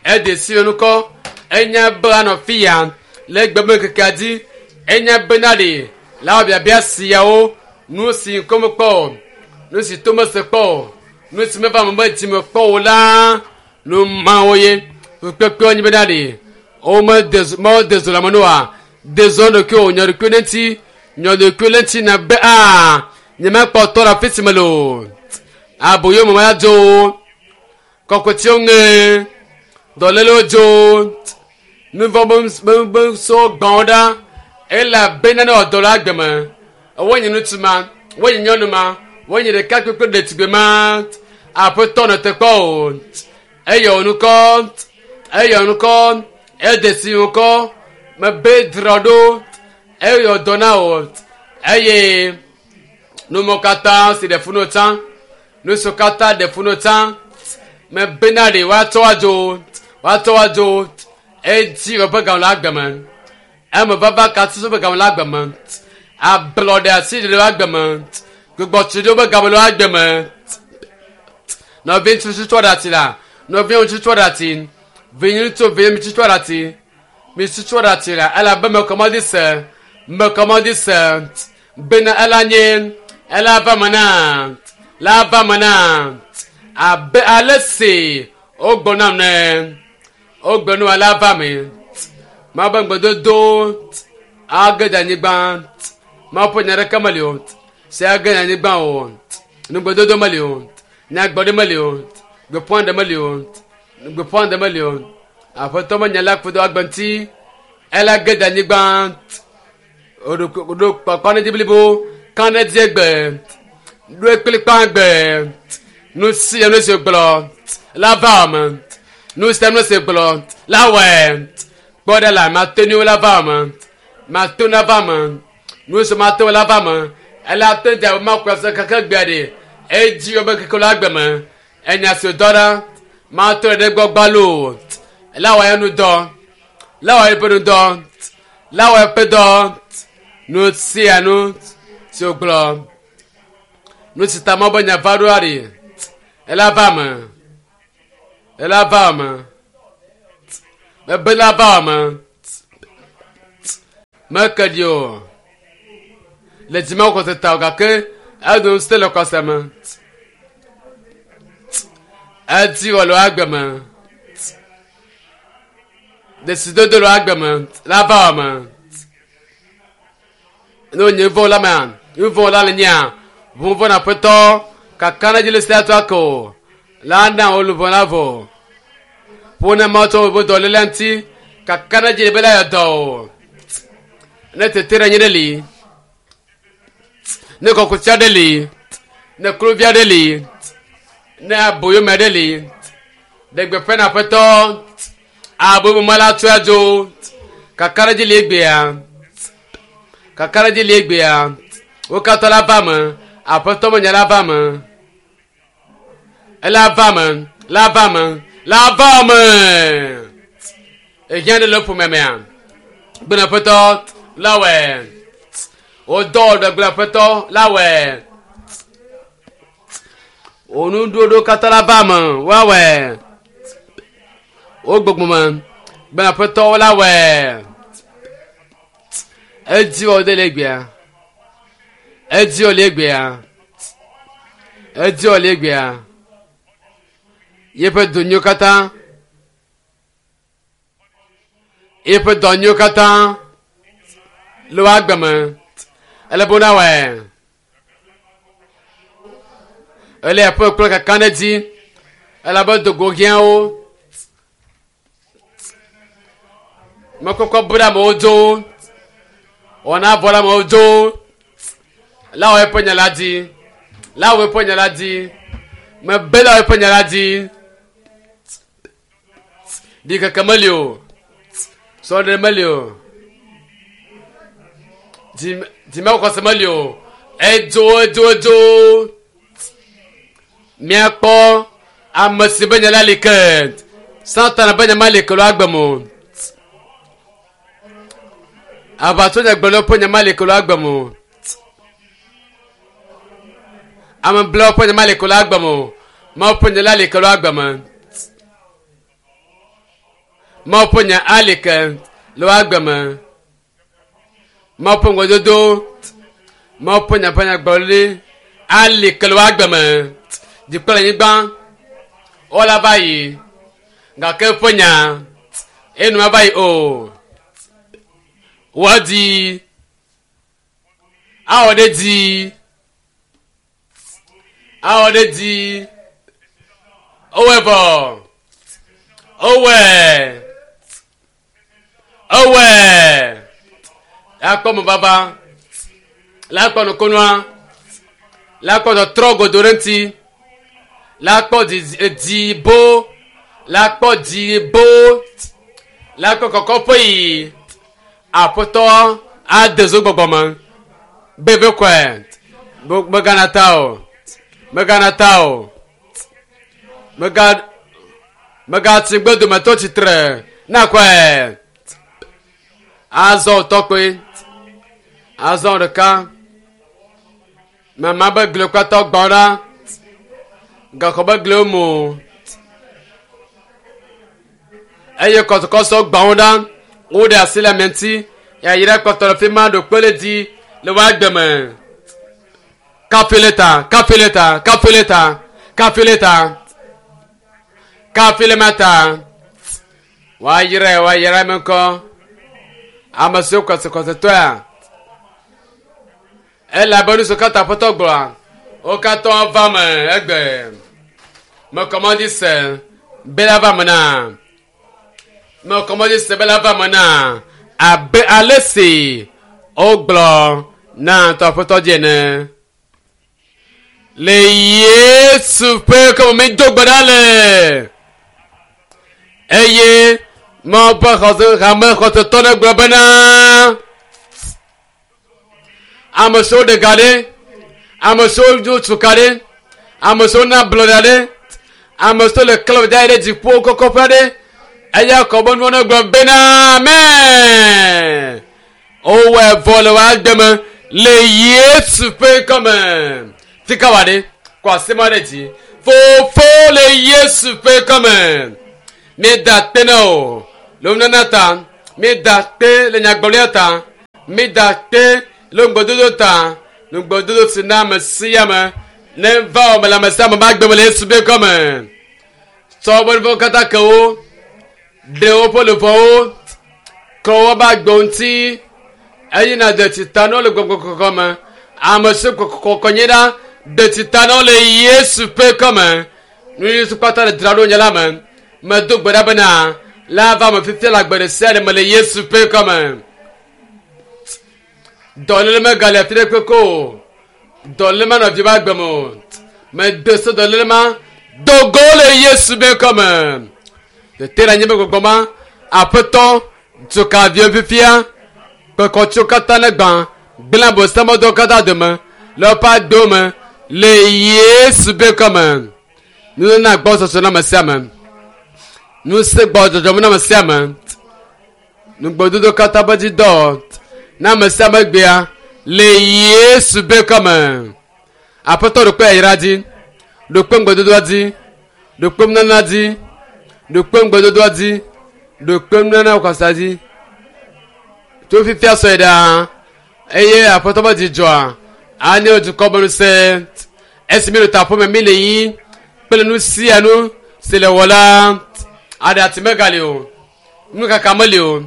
ede si wo ŋkɔ enya be anɔ fi ya le gbe be ŋkekea dzi enya bena ɖe la wɔ biabia siawo nu si ŋkɔ mekpɔ o nu si to mese kpɔ o nu si meva me be dzi me kpɔ o la nu mawo ye kpekpewo nyi bena ɖe wome de mawo de zo le ame noa de zo ɖokuiwo nyɔ ɖokuiwo ɖe ŋuti nyɔ ɖokuiwo ɖe ŋuti na be aa nyemekpɔ tɔ ɖe afi si me le o aboyo me ma dzo kɔkɔtiwo ŋe dɔlélewo dzo nuvɔ be so gbãwo ɖa elabena ne wòdɔ le agbe me wonye ŋutsu ma wonye nyɔnu ma wonye ɖekakpui kple ɖetugbi ma aƒetɔ nɔ te kpɔ o eye wò ŋkɔ eye wò ŋkɔ ede si ŋkɔ mebe dzra ɖo eye wòdɔ na wò eye numɔ katã si ɖe fu no tsã nu siwo katã ɖe fu no tsã mebena ɖe woatsɔ adzo woatsɔ adzo edzi ƒe game le agbe me eme vava katã ƒe game le agbe me ablɔɖe asi ɖe le agbe me gbugbɔtsi ɖe woƒe game le agbe me nɔvi ŋutsu tsɔ ɖe ati la nɔvi ŋutsu tsɔ ɖe ati vi ŋutsu vi ŋutsu tsɔ ɖe ati mi tsɔ ɖe ati la elabe mekɔ mɔdi se mekɔ mɔdi se bena ela nye ela va me na la va me na abe ale si wogblɔ nam ne wogblɔ nu ala va me mawu be ŋugbedodo age ɖe anyigba mawu ƒe nya ɖeke meli o si age ɖe anyigba o nugbedodo meli o nyagbɔɖi meli o gbeƒã ɖe meli o gbeƒã ɖe meli o aƒetɔ me nya la kudo agbe ŋuti ela ge ɖe anyigba ɖo kpakpa ne dzi blibo kan ne dzi egbe ɖo kplikpa gbe nu sia nu si gblɔ la va me nu sia nu si gblɔ la wɔe kpɔ ɖe la mate nu la va me mate na va me nu si mate la va me ela te dza ma kɔ se keke gbea ɖe edzi wo be keke la gbe me enya si dɔ ɖa mate ɖe gbɔ gbalo la wɔ nu dɔ la wɔ eƒe nu dɔ la wɔ eƒe dɔ nu sia nu si wògblɔ nu si ta mɔ be nya va ɖoa ɖi ela va me. Ela va me. Mebe la va me. Meke ɖi o. Le dzime xɔse ta o gake edo ŋusẽ le xɔse me. Edi wɔ le agbe me. Desidodo le agbe me la va me. Ne wonye vɔ la mea, nu vɔ la le nyea, ʋu vɔ na ƒetɔ kaka na dzi le sia to ko la na wo luʋɔ la vɔ. Ƒo ne ma tsɔ wo dɔléle ŋuti kaka na dzi be la yɔ dɔ o. Ne tete ɖe anyi ɖe li, ne kɔkuti aɖe li, ne kluvi aɖe li, ne aboyome aɖe li, ɖe gbeƒã na aƒetɔ aboyome la tso adzo kaka ɖe dzi li egbea, kaka ɖe dzi li egbea, wo katã la va me, aƒetɔ me nya la va me, ela va me, la va me, la va me. Ehiã ɖe le ƒome mea, gblẽ aƒetɔ la wɔe, wodɔ ɖe gblẽ aƒetɔ la wɔe, wo katã la va me, woawɔe, wo gbogbo me, gblẽ aƒetɔ la wɔe. Edzi wɔ de le egbea, edzi wɔ le egbea, edzi wɔ le egbea. Yeƒe donyiwo katã, yeƒe dɔnyiwo katã le wo agbe me. Ele be nawɔe. Ele aƒe kple kaka ɖe dzi. Elabe dogo hiãwo. Mekɔkɔ bu ɖe amewo dzo. Wɔna vɔ ɖe amewo dzo. La wɔ eƒe nya la dzi. La wɔ eƒe nya la dzi. Mebe la wɔ eƒe nya la dzi. Ɖikeke meli o. Sɔɖe meli o. Dzimexɔse meli o. Edzo edzo edzo. Míakpɔ ame si be nya la li ke. Satana be nya ma li ke le agbe me o. Aʋatso nyagblɔɖilawo ƒe nya ma li ke le agbe me o. Ameblewo ƒe nya ma li ke le agbe me o. Mawu ƒe nya la li ke le agbe me. Mawu ƒe nya ali ke le agbe me. Mawu ƒe ŋgɔdodo, Mawu ƒe nya ƒe nyagblɔɖi ali ke le agbe me. Dziƒo le anyigba, wola va yi gake eƒe nya enu mava yi o. Woadi awɔ ɖe dzi, awɔ ɖe dzi. Ewɔe vɔ, ewɔe, ewɔe. Lakpɔ mo vava, lakpɔ nukunua, lakpɔ tɔtrɔ godo ɖe ŋuti, lakpɔ dzibo, lakpɔ dzibo, lakpɔ kɔkɔƒe yi. Aƒetɔ ade zo gbɔgbɔ me. Bebe kɔe, megana ta o, megana ta o, mega megatsi gbedometɔ tsitre na kɔe. Azɔ tɔkpe, azɔ ɖeka. Mama be gli katã gbã ɖa. Gaxɔ be gliwo mo. Eye kɔsɔkɔsɔ gbã wo ɖa. Woɖe asi le ame ŋuti. Yayra kpɔtɔ le fi ma ɖo kpe ɖe dzi le wo agbe me. Kafi le ta, kafi le ta, kafi le ta, kafi le ta, kafi le ma ta. Woayrae, woayra ame ŋkɔ. Ame siwo kɔsɔkɔsɔtɔea. Elabe nu siwo katã aƒetɔ gblɔa, wo katã va me egbe. Mekɔmɔdzi se be la va me na. Mekɔmɔdzi se be la va me na. Abe ale si wogblɔ na ŋutɔ aƒetɔ dzi ene. Le Yesu ƒe ŋkɔ me do gbe ɖa le. Eye Mawu ƒe xɔse hame xɔsetɔ ɖe gblɔ bena ame siwo ɖe ga ɖe, ame siwo dzo tsuka ɖe, ame siwo na ablɔɖe ɖe, ame siwo le klɔ da ɖe dziƒo kɔkɔƒe ɖe, eya kɔ be nuwo ne gblɔ bena amen. Wowɔe vɔ le wo agbe me le Yesu ƒe ŋkɔ me. Fika wa ɖe? Kɔ asi ma ɖe dzi. Fofo le Yesu ƒe kɔme. Mi da akpe na o le nunana ta. Mi da akpe le nyagblɔɖia ta. Mi da akpe le ŋugbedodo ta. Ŋugbedodo si na ame sia ame ne va wɔ me le ame sia ame ƒe agbe me le Yesu ƒe kɔme. Tsɔ woƒe nu vɔ̃wo katã ke wo. Ɖe woƒe luʋɔwo. Klɔ woƒe agbewo ŋuti. Eye nàde tsi ta na wo le gbɔgbɔ kɔkɔ me. Ame si kɔkɔ nye ɖa de tsi ta na wo le Yesu ƒe kɔme. Nu Yesu kpata le dzra ɖo nye la me. Medo gbe ɖa bena la va me fifia le agbe ɖe sia ɖe me le Yesu ƒe kɔme. Dɔléle megale afi ɖe kpekpe o. Dɔléle manɔ vi ƒe agbe me o. Mede se dɔléle ma do go le Yesu ƒe kɔme. Tete le anyi be gbɔgbɔ ma aƒetɔ tso ka viwo fifia kpekɔtso katã ne gbã gblẽ abosamɔdɔwo katã dome le woƒe agbewo me le Yesu ƒe kɔme. Nunana gbɔsɔsɔ na ame sia ame. Ŋusẽ gbɔ dzɔdzɔme na ame sia ame. Nugbedodo katã ƒe dzi dɔ na ame sia ame gbea le Yesu ƒe kɔme. Aƒetɔ ɖo kpe yayra dzi, ɖo kpe ŋugbedodoa dzi, ɖo kpe nunana dzi, ɖo kpe ŋugbedodoa dzi, ɖo kpe nunana kɔsa dzi. Tso fifia sɔe ɖaa eye aƒetɔ ƒe dzidzɔa anye dukɔ be ŋusẽ. Esi mi le taƒo me mi le yi kple nu sia nu si le wɔ la aɖe ati megali o, nukaka meli o,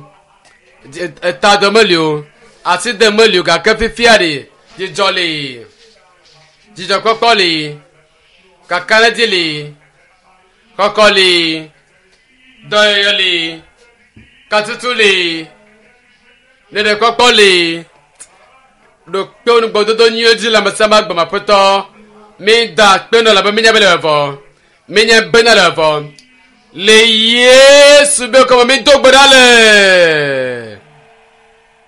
etadɔ meli o, asi de meli o gake fifia ɖe dzidzɔ li, dzidzɔkpɔkpɔ li, kakaɖedzi li, kɔkɔ li, dɔyɔyɔ li, katutu li, ɖeɖekpɔkpɔ li. Ɖo kpe nugbedodo nyuiwo dzi le ame sia ame agbe me aƒetɔ. Mi da akpe nɔ elabe mi nya be le vɔ. Mi nya bena le vɔ. Le Yesu be kɔme mi do gbe ɖa le.